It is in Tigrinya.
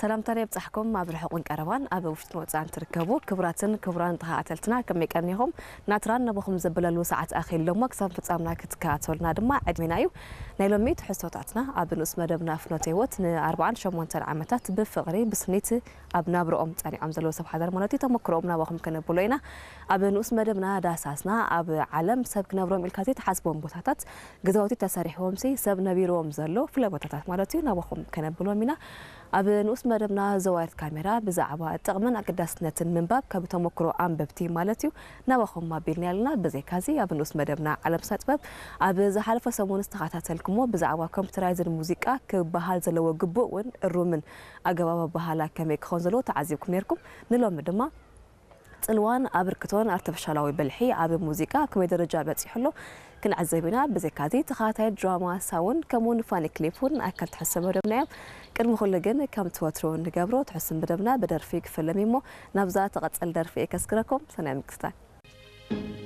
ሰላምታና ይብጻሕኩም። ኣብ ርሑቕን ቀረባን ኣብ ውሽጥን ወጻእን ትርከቡ ክቡራትን ክቡራን ተኸታተልትና ከመይ ቀኒኹም? ናትራን ናባኹም ዘበለሉ ሰዓት ኣኺሉ እሞ ክሳብ ፍጻምና ክትከታተሉና ድማ ዕድሜና እዩ። ናይ ሎሚ ትሕዝቶታትና ኣብ ንኡስ መደብና ፍኖተ ህይወት ንኣርባዓን ሸሞንተን ዓመታት ብፍቕሪ ብስኒት ኣብ ናብርኦም ጸኒዖም ዘለዉ ሰብ ሓዳር ማለት እዩ ተመክሮኦም ናባኹም ከነብሎ ኢና። ኣብ ንኡስ መደብና ዳሳስና ኣብ ዓለም ሰብ ክነብሮም ኢልካ ዘይትሓስቦም ቦታታት ገዛውቲ ተሰሪሕዎም ሲ ሰብ ነቢርዎም ዘሎ ፍለ ቦታታት ማለት እዩ ናባኹም ከነብሎም ኢና። ኣብ ንኡስ መደብና ዘዋየት ካሜራ ብዛዕባ ጥቕምን ኣገዳስነትን ምንባብ ካብ ተመክሮ ኣንበብቲ ማለት እዩ ናባኹም ኣቢልና ኣለና። ብዘይካዚ ኣብ ንኡስ መደብና ዓለም ስነ ጥበብ ኣብ ዝሓለፈ ሰሙን ዝተኸታተልኩሞ ብዛዕባ ኮምፒውተራይዝድ ሙዚቃ ክበሃል ዘለዎ ግቡእ እውን እሩምን ኣገባብ ኣበሃህላ ከመይ ክኸውን ዘለዎ ተዓዚብኩም ነርኩም። ንሎሚ ድማ ጽልዋን ኣበርክቶን ኣርቲፊሻላዊ ብልሒ ኣብ ሙዚቃ ኣብ ከመይ ደረጃ በጺሑ ኣሎ ክንዕዘብ ኢና። ብዘይካዚ ተኸታታይ ድራማ ሳውን ከምኡውን ፋኒ ክሊፕ እውን ኣካል ትሕዝቶ መደብና እዮም። ቅድሚ ኩሉ ግን ከምቲ ወትሩ እንገብሮ ትሕዝቶ መደብና ብደርፊ ክፍለም እሞ ናብዛ ትቕጽል ደርፊ እየ ከስግረኩም። ሰናይ ምክትታል።